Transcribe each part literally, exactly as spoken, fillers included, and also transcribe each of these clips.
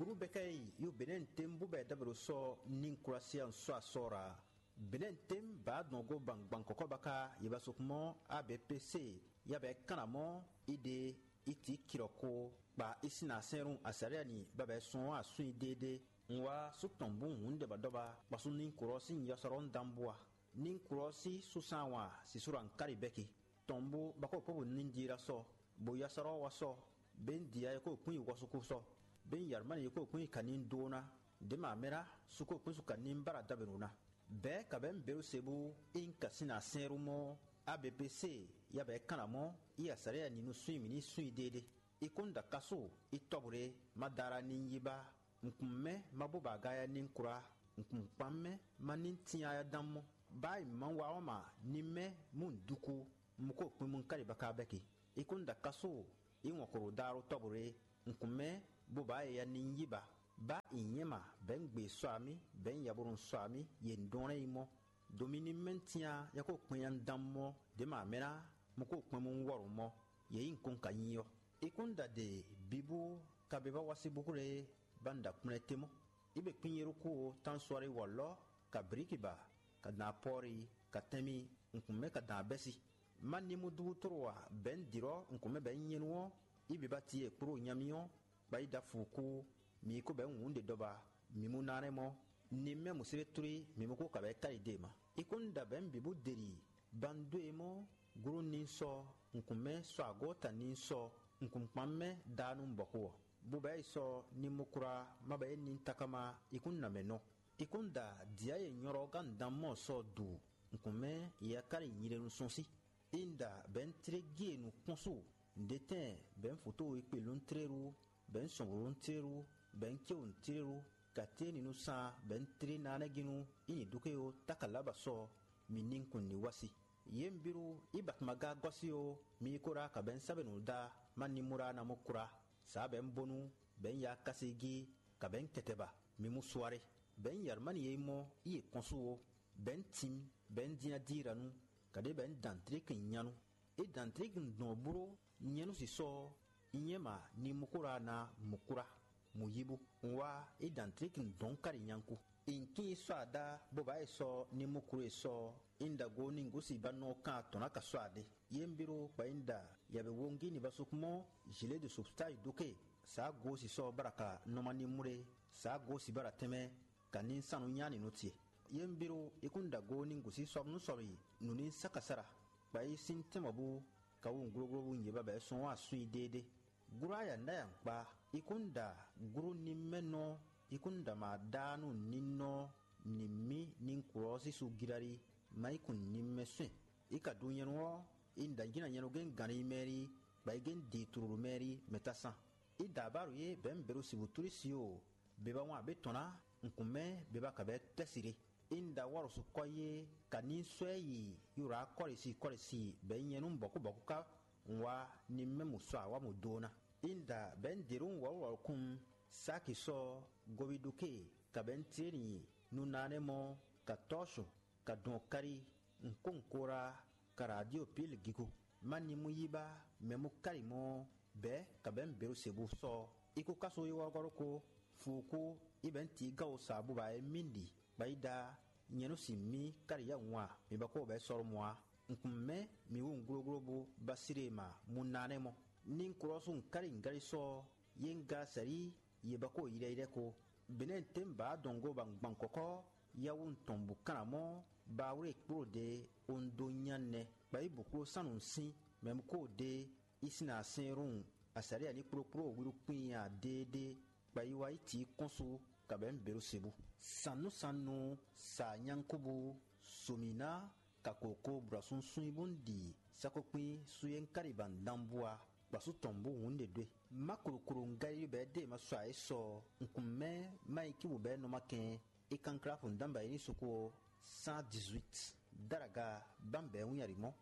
Uru bɛkɛ yi yo benɛn tem bu bɛ dabero sɔ nin kurasiya sɔ asɔra. Benɛn tem ba dɔn go ban gban kɔkɔ baka yi ba sokmɔ abpc ya bɛ kana mɔ ide iti kirɔko kpa isina sɛnru asariya ni babɛ sɔn asun ide de. Nwa su tɔn bu hun de ba dɔba kpasu nin kurɔ sin yɔsɔrɔ dan bua. Nin kurɔ si susan wa sisura nkari bɛki. Tɔn bó bako kpóbó ní dira sɔ, bó yá sɔ́ wá sɔ, bó ní dia yɛ kó kún yi wɔsukú sɔ, bó ní yarumani yɛ kó kún yi kaní dó ná, dě mǎ mɛ ná, su kó kún su kaní bára dabɛnu ná. Bɛ̌ kabɛ̌ běɖo se bú ín kasín ná sɛ́n rú mɔ́, abpc yabɛ̌ kán ná mɔ́, í asǎlɛ ya ní nú súnyi mǐ ní súnyi déédéé. I kún da kasú, i tɔ́bǔɖé, ma da ara ní yi ba. Nkun mɛ ma bó ba aga ya ní kura, nkun kpan mɛ ma ní tin aya dan mɔ. Ba yi ma wa ɔ́ ma ní mɛ mú duku, mu ko kpin mu kali baka bɛki. I kún da kasu, i wɔn koro da ro tɔbure, nkun mɛ bó ba ya ní yi ba. Ba i nyɛ ma bɛ n gbe sɔ ami, bɛ n yabonu sɔ ami, ye ndɔn yi mɔ. Domi ní mɛ tinya ya ko kpin ya dan mɔ, de ma mɛ na, mu ko kpin mu wɔrɔ mɔ, ye yi nkun ka nyi ɔ. I kún da de bibu ka be ba wasi buku lɛ ba n da kplɛ́n te mɔ. I be kpín Yerúku ó, Tánswari wɔ̌lɔ́, ka Blíkiba, ka dán Apɔ́ɔri, ka Tɛ́nmi, nǔkún mɛ ka dán Abɛ́si. Má ní mú dúbú tló ǎ, bɛ̌ un dirɔ́ nǔkún mɛ bɛ̌ un nyɛ́nu ɔ́, i bǐ ba ti e kpló nyamí ɔ́, kpa yi dó afukú, mǐ yi ko bɛ̌ wǔn ɖe dɔba, mǐ mú ná nɛ́ mɔ́, ní mɛ mǔ séré tlí, mǐ mú kó ka bɛ̌ káyi dó e ma. I kún da bɛ̌ un bǐ bó deli, ba un dó e mɔ́, gló ní sɔ́, nǔkún mɛ sɔ́ agɔ́ ta ní sɔ́, nǔkún kpan mɛ dá nú bɔ̌xo ɔ́. Bubɛ yi sɔ ni mo kura ma bɛ ni takama ikun na mɛ nɔ. Ikun da dia ye nyɔrɔ gan dan mɔ sɔ du nkumɛ ye akari nyire nu sɔn si. Inda bɛn tre gie nu kpɔn so ndetɛn bɛn foto ikpe lun treru bɛn sɔnburu lun treru bɛn cewu treru kate ni nu san bɛn tre nanɛginu ini duke yo takalaba sɔ mi ni kun ni wasi. Ye mbiru ibatmaga gɔsi yo mi kora ka bɛn sabenu da ma ni mura na mo kura. Sa bɛn bonu bɛn ya kasi gi ka bɛn kɛtɛba mi mu suare. Bɛn yarmani ye mɔ iye kɔnsu wo bɛn tim bɛn dina diranu kade bɛn dantriki nyanu. E dantriki dɔn bro nyanu sisɔ nyɛma ni mukura na mukura mu yibu. Wa e dantriki dɔn kari nyanku. Inkin sɔ ada bó ba e sɔ ni mukuru e sɔ inda go ni gosi ba nɔ kan atɔn na ka sɔ ade. Ye mbiro kpa inda ya be wongi ni ba sukmɔ jile de substai doke. Sa go si sɔ baraka nɔma ni mure sa go si bara tɛmɛ ka ní sanu nyá nínú ce. Yé un bírú i kún ɖagó ní gǔsí sɔ́ nú sɔ́ yi nǔ ní sákasára, kpa yi sín tɛ́nmɔbú ka wú nǔglógló bú nyě babɛ́ sɔ́n wá sun yi déédéé. Gúrú aya nǔ ɖ'ayǎ kpá, i kún ɖa gúrú ní mɛ nɔ, i kún ɖa mǎ ɖá nú ní nɔ ní mí ní kú ɔ́ sísú gíláli, má yi kun ní mɛ sɛn. I ka ɖu nyɛnu ɔ́, i ɖa jǐ na nyɛnu gɛ́n gǎn ní mɛ rí, kpa yi gɛ́n di tlulu mɛ rí mɛ tá sán. I da abáɖu yé bɛ̌ un bɛ̌ ɖo sixú tlí si o, beba wan abě tɔn ná, un kun mɛ beba ka bɛ̌ tɛ́ si ɖé. I un da wɔ́ ɖo sukɔ́ yé, ka ní sɔ́ ɛ yi Yurakɔ́lisi kɔ́lisi bɛ̌ nyɛ nú bɔ̌kúbɔ̌kú ká un wá ní mɛ mu sɔ awǎ mu dó ná. I un da bɛ̌ un ɖě ɖó un wɔ̌lúwɔ̌lú kún Saki sɔ́ Gobiɖuke, ka bɛ̌ un tlé nyi nunánɛ́ mɔ ka tɔ́ su. Ka dɔn kari, nkónkora, ka radio pil gigo. Má ni mú yí bá mɛ mú kari mɔ bɛ̌ ka bɛ̌ mi běɖo se bú sɔ́. I kó káso yi wɔ́rɔ́gɔ́ ɖokó, fuukú, i bɛ̌ ti gawo sa bú ba é mí ɖi, bɔ yi ɖa nyɛ nú sin mí kari yá ŋu a, mi ba kó bɛ̌ sɔ́ ɖó mɔ a. Nkun mɛ mi wú un glógló bú ba sire ma mú ná nɛ́ mɔ. Ní un klɔ́ sú un kari un gáli sɔ́ yé un ga sɛ̌ yí yě ba ko ylɛ́ylɛ́ ko. Benɛ́ tɛ́nbǎ dɔn gó ba gban kɔ́kɔ́ yawun tɔn bǔ kanamɔ́ ba wlé kpló ɖě o un dó nya nɛ. Kpa yi bǔ kpló sánnu sín mɛ mú kó ɖě i sín asɛ́nrún asǎlí a ní kplókpló wíɖú kpín a déédéé. Kpa yi wá yi tǐ kɔ́n su kabɛ̌ běɖo se bú. Sannúsannu sa nyánkúbú somǐ ná ka koko brɔ̌súnsún yi bó un ɖi sákókpín sú yé un káɖi ba un dán bú a. Kpasú tɔn bú hǔn ɖe dó e. Má kloklo un Galilée bɛɛ dée ma sɔ ayǐ sɔ un kun mɛ má yi cíbǔ bɛɛ nɔ má kɛn é kanklá fun dán bǎ yi ní sukú ɔ́ cent dix-huit. Dáraga bámbɛ̌ wún yari mɔ́.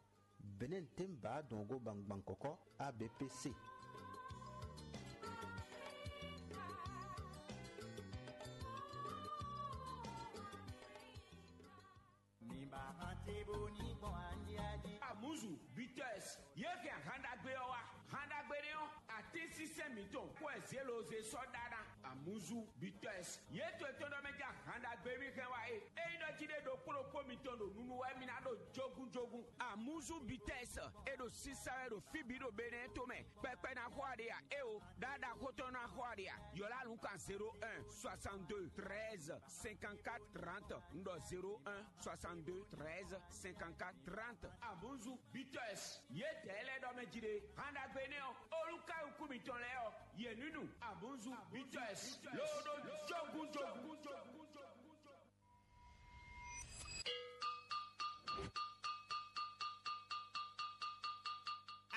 Bɛ̌nɛ́ tɛ́nbǎ dɔn gó bangban kɔ̌kɔ́ A B P C. Amuzu, Bitters, ye hɛn ahan ɖagbe ɔ́ wá. Han ɖagbe nɛ ɔ́, atínsínsɛ́n mǐtɔn kó wɛ zěloze sɔ́ ɖá ná. Amuzu Bitɔs. Yě to etɔ́ ɖɔ mɛ ja han ɖagbe mì hɛn wá é. Ényí ɖɔ jí ɖé ɖokpó ɖokpó mitɔn ɖo nunu wɛ mi ná ɖo jógúnjógún. Amuzu Bitɔs. E ɖo sísá wɛ ɖo fí bǐ ɖo Benɛ́ to mɛ. Kpɛkpɛ ná xɔ aɖe a? Éo, ɖaɖa xótɔn ná xɔ aɖe a? Yɔ̌lá nǔkan zéro un soixante-deux treize cinquante-quatre trente. Un ɖɔ zéro un soixante-deux treize cinquante-quatre trente. Amuzu Bitɔs. Yědɛɛ lɛ́ɛ ɖɔ mɛ jí ɖe, han ɖagbe énɛ́ ɔ́, olúkáyukú mitɔn lɛ́ɛ ɔ́, yě ní nu. Abonzu Bitɔs ló ɖó jógúnjógún.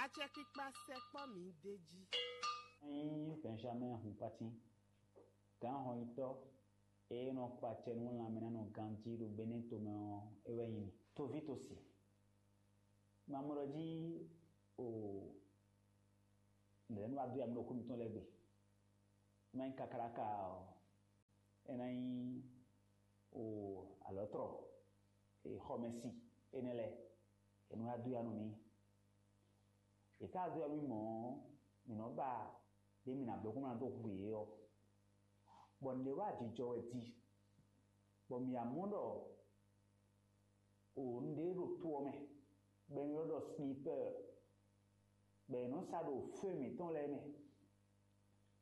Acɛkpikpa sɛkpɔ́ mǐ d'é jí. Nyí Benjamin Hunpatin, gǎnhɔnyitɔ́ e nɔ kpa acɛ nú lanmɛnánɔ ganjí ɖo Benɛ́ tomɛ ɔ́, é wɛ nyí mì. Toví tosi, mamɔɖɔ jí o nɛ̌ nɔ wá dó ya mì ɖo xó mitɔn lɛ́ɛ gbe. Má nyí kakáɖáka ɔ́, é ná nyí o alɔ̌tlɔ, xɔmɛsi énɛ́ lɛ́ɛ, è nɔ wá dó ya nú mì. È ka dó ya nú mì mɔ̌ ɔ́, mǐ nɔ ba ɖě mǐ ná bló kó má ná dó hu yě ɔ́, bɔ nǔɖé wá jijɔ wɛ di, bɔ mǐ wá mɔ ɖɔ o nǔɖé ɖo to ɔ́ mɛ, bɔ è nɔ ylɔ́ ɖɔ snipɛ́ɛ, bɔ è nɔ sa ɖo fé mǐtɔn lɛ́ɛ mɛ,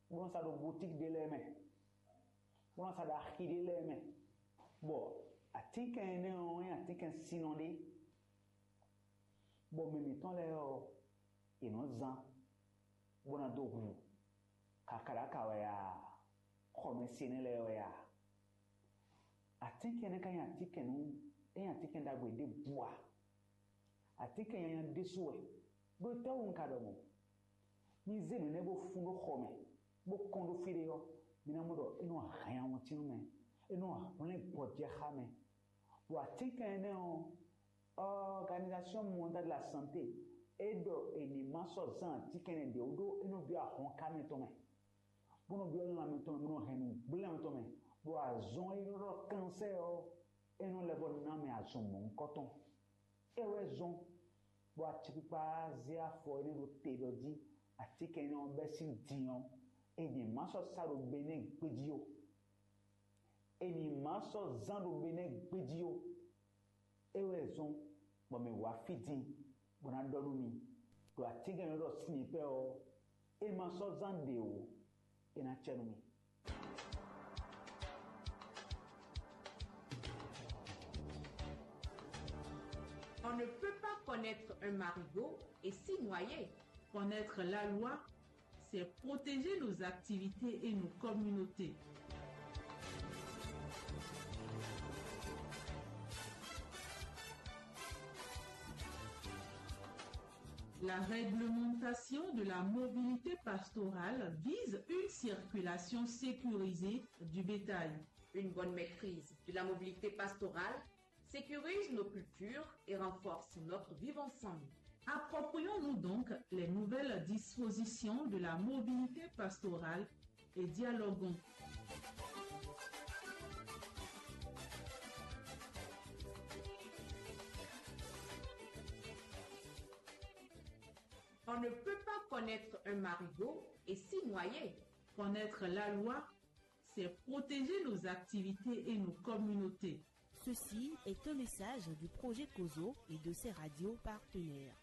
bó nɔ sa ɖo boutique ɖé lɛ́ɛ mɛ, bó nɔ sa ɖo axi ɖé lɛ́ɛ mɛ, bɔ atínkɛn énɛ́ ɔ́ nyí atínkɛn sinnɔ ɖé, bɔ mɛ mǐtɔn lɛ́ɛ ɔ́, è nɔ zán bó ná dó hu kakaɖaka wɛ a, xɔmɛsi énɛ́ lɛ́ɛ wɛ a? Atínkɛn énɛ́ ka nyí atínkɛn nú, é nyí atínkɛn ɖagbe ɖěbǔ a? Atínkɛn nyanya ɖésú wɛ, ɖó étɛ́wú un ka ɖɔ mɔ̌? Mi zé nǔ énɛ́ bó fún ɖó xɔ mɛ, bó kɔn ɖó fí ɖé ɔ́, mi ná mɔ ɖɔ é nɔ hɛn awɔntín nú mɛ, é nɔ hwlɛ́n gbɔjɛxá mɛ. Bɔ atínkɛn énɛ́ ɔ́, Organisation Mondiale de la Santé é ɖɔ è ní ma sɔ́ zán atínkɛn énɛ́ ɖě wú ɖó é nɔ byɔ́ ahɔnká mɛtɔn mɛ, bó nɔ byɔ́ lanmɛ tɔn mɛ, bó nɔ hɛn nǔgblé lanmɛ tɔn mɛ, bɔ azɔn e nɔ ɖɔ kansɛ́ ɔ́, é nɔ lɛ́ vɔ ná mɛ azɔn mɔ̌hunkɔtɔn. É wɛ zɔ́n bɔ acɛkpikpa zé afɔ énɛ́ ɖó te ɖɔ jí atínkɛn énɛ́ ɔ́ bɛ́ sín din ɔ́, è ní ma sɔ́ sá ɖo Benɛ́ɛ gbéjí ó. È ní ma sɔ́ zán ɖo Benɛ́ɛ gbéjí ó. É wɛ zɔ́n bɔ mǐ wá fí din bó ná ɖɔ nú mi ɖo atínkɛn e nɔ ɖɔ sinipɛ́ ɔ́, é ma sɔ́ zán ɖě ó, é ná cɛ nú mi. On ne peut pas connaître un marigot et s'y noyer. Connaître la loi, c'est protéger nos activités et nos communautés. La réglementation de la mobilité pastorale vise une circulation sécurisée du bétail. Une bonne maîtrise de la mobilité pastorale sécurise nos cultures et renforce notre vivre ensemble. Approprions-nous donc les nouvelles dispositions de la mobilité pastorale et dialoguons. On ne peut pas connaître un marigot et s'y noyer. Connaître la loi, c'est protéger nos activités et nos communautés. Ceci est un message du projet Kozo et de ses radios partenaires.